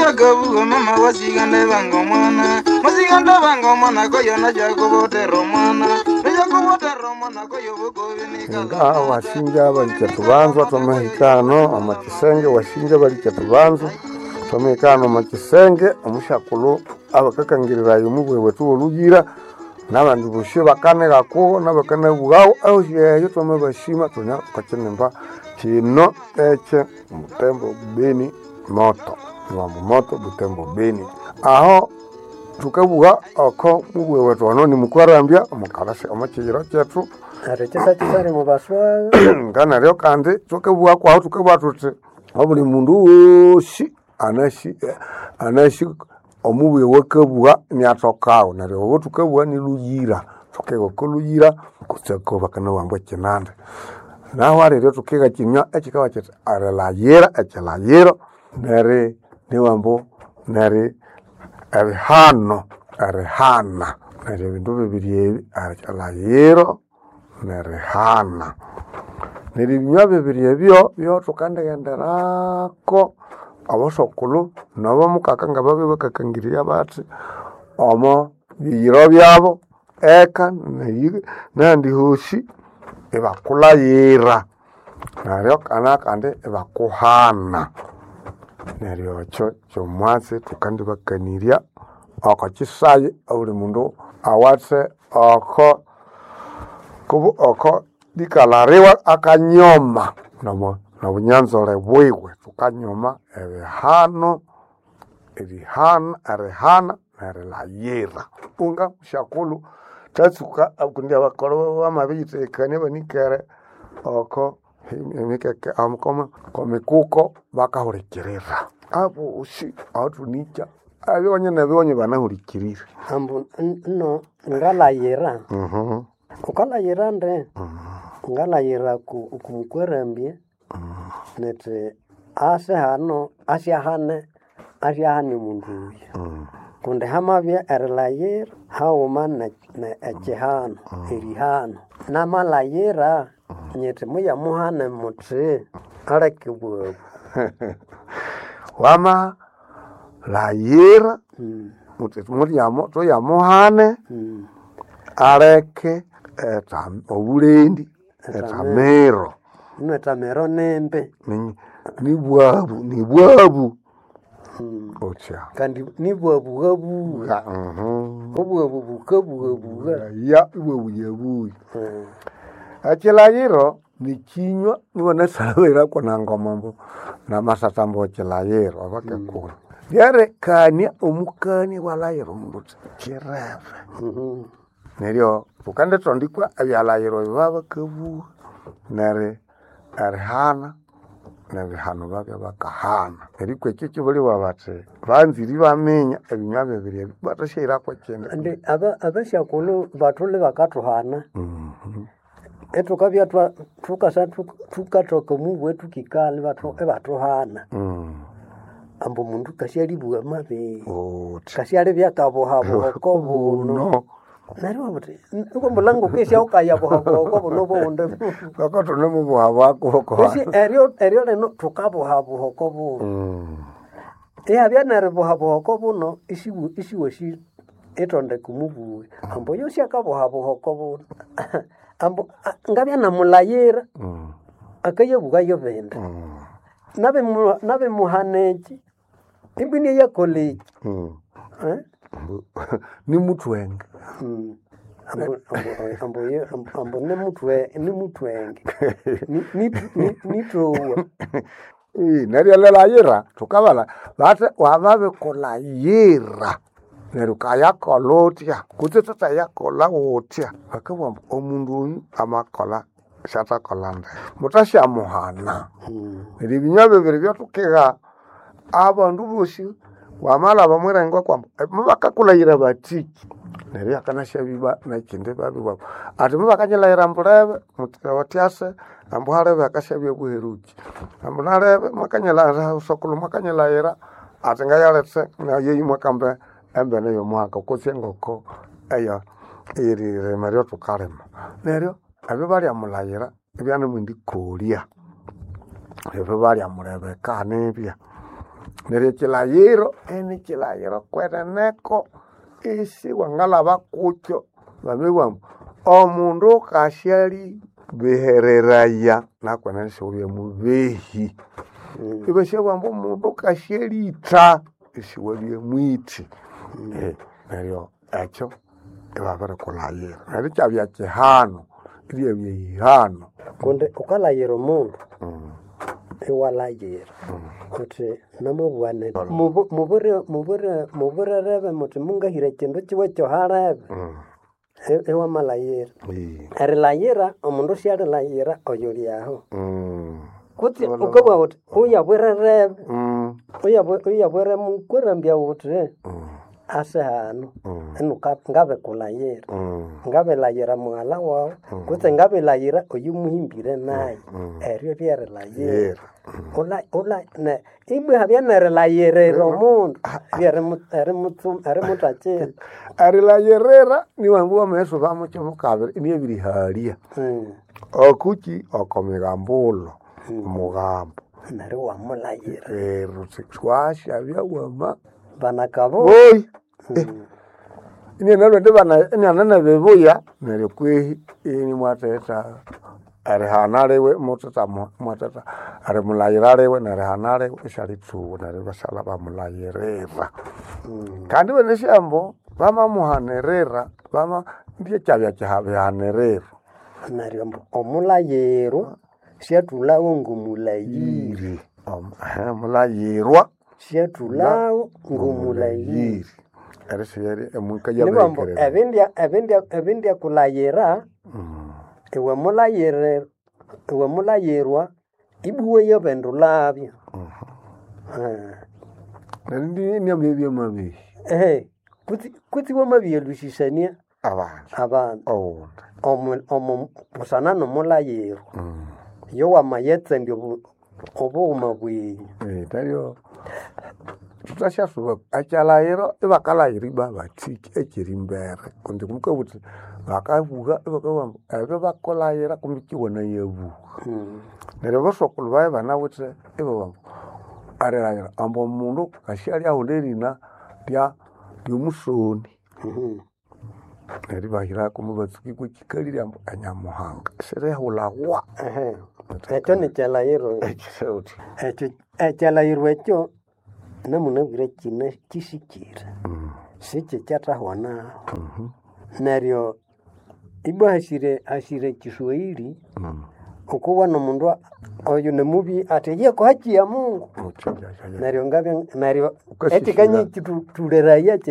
Akabuga mama wasigande banga omwana, wasigande banga omwana koyo najakubotera omwana, najakubotera omwana koyo bukobinika. Nga wasinja balikya tubanzwa twamahikano omakisenge, wasinja balikya tubanzwa twamahikano omakisenge. Omusyakulhu abakakangirirayo omubwe wethu woluyira nabandi bosi bakanighakuho nabakanabughaho ahosi eyo twamabasima tunya okokinimba kino ekye Butembo Beni moto niwambu moto Butembo Beni. Aho thukabugha oko mubwe wethu ono nimukwarambya omukalasi omokiyiro kyethu. Neryo kyisakisali mubaswaga. Nga neryo kandi thukabugha kwahu thukabugha thuthi obuli mundu wosi anasi anasi omubuya wakabugha iniathokawo. Neryo obo thukabugha nilhuyira, thukigha oko lhuyira kutse ko bakanabugha ekinande. Nahu aliryo thukigha ekinywa ekikabugha kyithi erilhaghira ekilhaghiro neri niwambu neri erihano erihana. Neryo ebindu bibiri ebi, ekilhaghiro nerihana. Neryo ebinywa bibiri ebyo byothukandighenderako abosokulhu nabomukaka ngababya bakakangirya bathi omo biyiro byabo eka nahandi hosi ibakulhaghira neryo kandi ibakuhana. Neryo ekyo kyomwatsi thukandibakanirya oko kisayi obuli mundu awathe oko kubu oko likalhariwa akanyoma nobunyanzole bwiwe. Thukanyoma ebihano, erihana erihana nerilhaghira. Unga musyakulhu thatsuka kundi abakolho bamabiriyitheghekania ibanikere oko emikeke okomikuko bakahulikirira. Abosi ahathunikya ebighonye nebighonye banahulikirire. Ambu nno ngalayira. Wukalayira nde? Ngalayira ku kumukwarambya nithi ase hano asyahane asyahane omundu oyu. Kundi hamabya erilayira haghuma ne ekihano, erihano. Namalayira nyithi muyamuhane muthi aleke obwabu. Wamalayira wuthi thuyamuhane aleke obulendi, ethamiro. Ino ethamiro nimbi. Nibwabu nibwabu wuthya. Kandi nibwabughabugha. Obwabu bukabughabugha. Ya ibwabuyabuya. Ekilayiro nikinywa iwanasalhaghirako nangoma ambu namasatha ambu ekilayiro abakekulhu. Lyarekania omukania iwalhaghira omundu wuthi kirebe. Neryo thukandithondikwa ebyalhaghiro ebyabakabugha neri erihana nebihano babya bakahana. Nerikwa ekyo kibaliwa bathi banzire ibaminya ebinywa bibiri ebi bathasyahirako ekindi. Indi abasyakulhu bathuli bakathuhana. Ithukabya thukasa thukathoka omubwe thukikalha ibathuhana. Ambu omundu kasyalibugha mabi. Wuthi. Kasyalibya akabuhabuha okobuno. Neryo iwabugha wuthi iwambula ngokesya wukayabuhabuha okobuno obundi. Ngoko thunemubuhabuha kuko. Kwesi eryo eryo lino thukabuhabuha okobuno. Ihabya neribuhabuha okobuno isiwasi ithondeka omubuwe. Ambu oyo syakabuhabuha okobuno. Ambu ngabya namulayira akayabugha yobindi. Nabimuhana eki imbwino iyakolha eki. Nimuthwenge. Ambu nimuthwenge nithowa. Neryo erilhaghira thukabalha bathi wamabikulhaghira neryo wukayakolha wuthya kutse thuthayakolha wuthya. Bakabugha ambu omundu oyu amakolha syathakolha ndeke. Muthasyamuhana. Neryo ebinywa bibiri ebyathukiha abandu bosi wamalhaba omwirengwa kwambu mubakakulhaghira bathiki neryo ihakanasyabya nekindi ibabugha athi mubakanyilhaghira ambulebe wuthi ase ambu halebe hakasyabya buherukyi. Ambu nalebe mwakanyilhaghira sokulhu mwakanyilhaghira athi ngayalethe nayeyu mwakamba embene yomuhaka kutse engoko eya eyeririma eryathukalima. Neryo ebyo balyamulhaghira ibyanemwendikolya. Ebyo balyamulebeka nibya. Neryo ekilayiro eni kilayiro kweneneko isi wangalaba kukyo bamibwa ambu omundu kasyali bihereraya nakwenene siwabya mubehi. Ibasyabugha ambu omundu kasyalitha isiwabya mwithi. Neryo ekyo ibabirikulayira. Neryo ikyabya kihano, iryabya ihano. Kundi wukalayira omundu iwalayira wuthi namabugha nethi mubirerebe muthi mungahira ekindu kiwe kyohalebe iwamalayira. Erilayira omundu syalilayira oyuli aho kutse wukabugha wuthi oyabwirerebe oyabwire mukwarambya wuthi ase hano ngabikulayira ngabilayira mughalha wawu kutse ngabilayira oyumuhimbire nayu eryo ryerilayira ibwa ihabya nerilayirira omundu ryerimuthakira. Erilayirira niwambu wamaghisuba mukyamukabiri iniyabirihalya okuki okomigambulo omugambo. Neryo iwamulayira. Neryo wasyabya wama Banakabo. Oyi inianalwa iniananabibuya neryo kwehi inimwathetha erihana liwe muthitha mwathetha erimulayira liwe nerihana liwe isyalitsuwa neryo ibasyalha bamulayirira. Kandi ibanasi ambu bamamuhanirira bama ndyekyabya bihaniriro. Neryo ambu omulayirwa syathulhawo ngomulayiri. Mulayirwa Syathulhawo ngomulayiri. Erisiyeri Nibambu ebindyakulayira iwe mulayiri iwe mulayirwa ibuwe yabendulabyo. Neryo Kutse wamabiyalhusisania abandu abandu owundi omu busana nomulayirwa iyo wamayetsandya obughuma bwenyu. Neryo thukasyasuba ekyalayiro ibakalayira ibwa bathiki ekyirimbere kundi mukabugha wuthi bakabugha ibakabugha ambu ebyo bakulayira kumbi kiwanayabuha. Neryo abasokulhu babya ibanawithe ibabugha ambu erilayira ambu omundu kasyalyaghulha erina lyomusoni. Neryo ibahirako mubatsuki kwekikalirye ambu enyamuhanga sirihulhawa. Ekyo nikyalayiro ekyo ekyalayiro ekyo namunabwire kine kisikire sikikyathahwanaho. Neryo ibwa hasire hasire ekiswahili wukuwana omundu oyu nimubi athi yeko haki ya Mungu. Neryo ngabya neryo Wukasisira. ekikanyithulheraya.